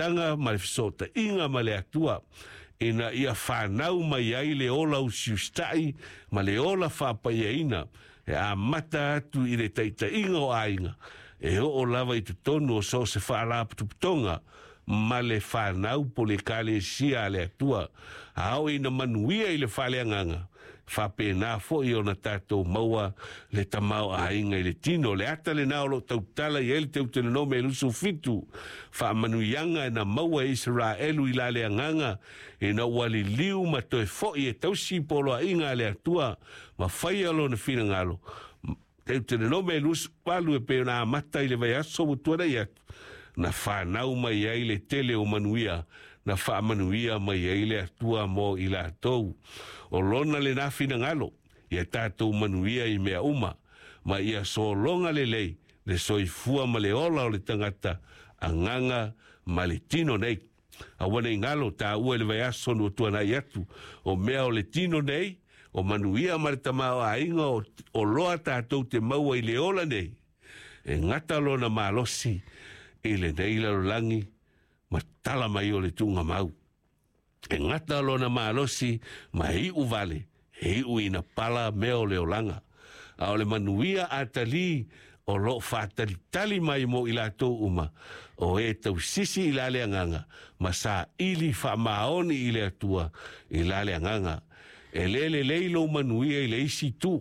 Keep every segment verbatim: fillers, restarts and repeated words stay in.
amataga ma le feso'ota'iga ma le Atua ina ia fanau mai ai le ola usiusita'i ma le ola fa'apaiaina e amata atu i le ta'ita'iga o aiga e o'o lava i totonu o so o se fa'alaputuputoga ma le fanau po le ekalesia a le Atua. A oo ina manuia i le faaleagaga faapena fo'i ona tatou maua le tamaoaiga i le tino. Le ata lenā o lo'o tautala i ai le Teutelonome e lusu fitu faamanuiaga e na maua e Isaraelu i la le agaga ina ua liliu ma toe fo'i e tausi poloa'iga a le Atua ma faia lona finagalo. Teutelonome e lusu valu e pei ona amata i le vaiaso ua tuana'i atu na fanau mai ai le tele o manuia na faamanuia mai ai le Atua mo i latou. O lona lenā finagalo ia tatou manuia i mea uma ma ia sologa lelei le soifua ma le ola o le tagata agaga ma le tino nei. Aua nei galo tāua i le vaiaso na tuana'i atu o mea o le tino nei o manuia ma le tamaoaiga o, o loa tatou te maua i le ola nei e gata lona malosi i lenei lalolagi ma tala mai o le tuugamau. E gata lona malosi ma e iʻu vale e iʻu ina pala mea o le olaga. A o le manuia atalī o lo'o fa'atalitali mai mo i latou uma o e tausisi i la le agaga ma saʻili fa'amaoni i le Atua i la le agaga. E lē lelei lou manuia i le isi itu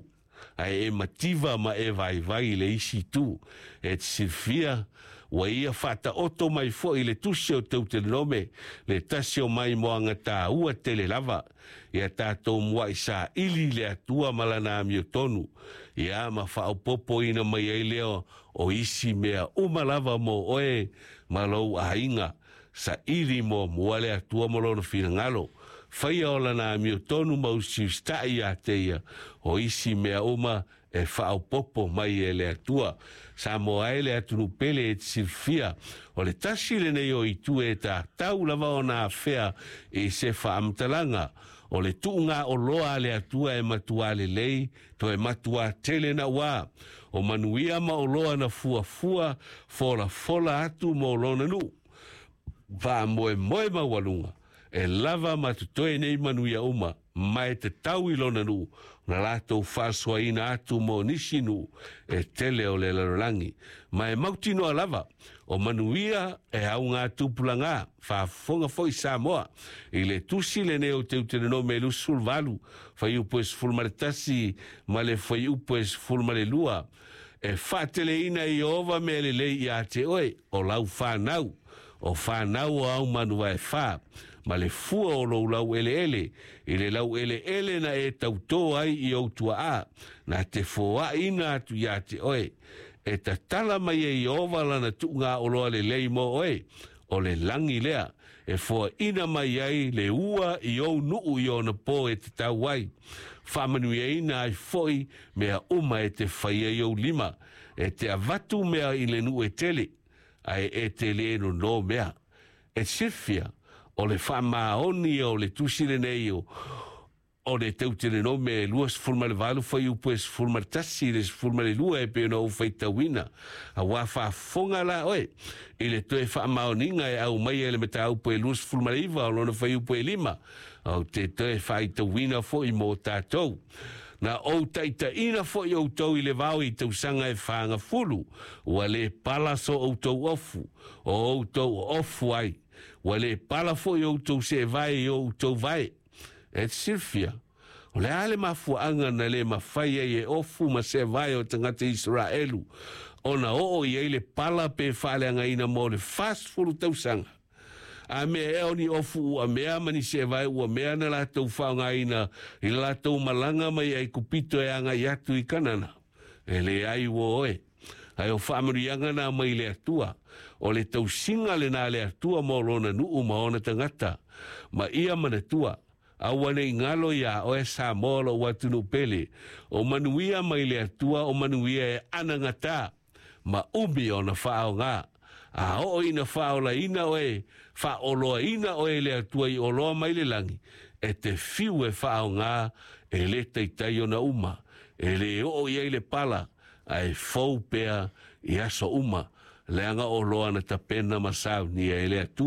ae e mativa ma e vaivai i le isi itu. E te silafia ua ia fa'ata'oto mai fo'i le tusi o Teutelonome le tasi o mai moaga tāua tele lava ia tatou mua'i saʻili le Atua ma lana amiotonu ia ma fa'aopopoina mai ai lea o isi mea uma lava mo oe ma lou aiga. Saʻili muamua le Atua ma lona finagalo faia o lana amiotonu ma usiusita'i iā te ia o isi mea uma e fa'aopopo mai e le Atua. Samoa e le atunuu pele e te silafia o le tasi lenei o itu e tatau lava ona afea i se fa'amatalaga o le tu'uga oloa a le Atua e matuā lelei toe matuā tele na'uā o manuia ma oloa na fuafua folafola atu mo lona nu'u fa'amoemoe maualuga e lava ma totoe nei manuia uma ma e tatau i lona nu'u na latou fa'asoaina atu mo nisi nu'u e tele o le lalolagi ma e mautinoa lava o manuia e augā tupulagā faafofoga fo'i Samoa i le tusi lenei o Teutelonome e lusufuluvalu fuaiupu e sefulu ma le tasi ma le fuaiupu e sefulu ma le lua e fa'ateleina e Ieova mea lelei iā te oe o lau fanau o fanau o au manu vaefā ma le fua o lou lau'ele'ele i le lau'ele'ele na e tautō ai i ou tua'a na te foaʻina atu iā te oe e tatala mai e Ieova lana tu'ugā oloa lelei mo oe o le lagi lea e foaʻina mai ai le ua i ou nu'u i ona pō e tatau ai fa'amanuiaina ai fo'i mea uma e te faia i ou lima e te avatu mea i le nu'u e tele ae e te lē nonō mea. E silafia o le fa'amaoni o le tusi lenei o o le Teutelonome e lua sefulu ma le valu fuaiupu e sefulu ma le tasi i le sefulu ma le lua e pei ona ou faitauina auā faafofoga la oe i le toe fa'amaoniga e aumaia i le mataupu e lua sefulu ma le iva o lona fuaiupu e lima ou te toe fa'aitauina fo'i mo tatou. Na ou ta'itaʻina fo'i outou i le vao i tausaga e fagafulu ua lē pala so outou ofu o outou ofu ai ua lē pala fo'i outou se'evae i o outou vae. E te silafia o le a le mafua'aga na lē mafai ai e ofu ma se'evae o tagata Isaraelu ona o'o i ai le pala pe fa'aleagaina mo le fasefulu tausaga a mea ea o ni ofu u'amea ma ni se'evae u'amea na latou fa'aogāina i le latou malaga mai ai Kupito e aga'i atu i Kanana? E leai ua oe ae o fa'amanuiaga na mai le Atua o le tausiga lenā le Atua mo lona nu'u ma ona tagata ma ia manatua aua nei galo iā oe Samoa lo'u atunuu pele o manuia mai le Atua o manuia e anagatā ma umi ona fa'aogā a oo ina fa'aolaina oe fa'aoloaina oe e le Atua i oloa mai le lagi e te fiu e fa'aogā e lē taitai ona uma e lē o'o i ai le pala ae fou pea i aso uma leaga oloa na tapena ma saunia e le Atua.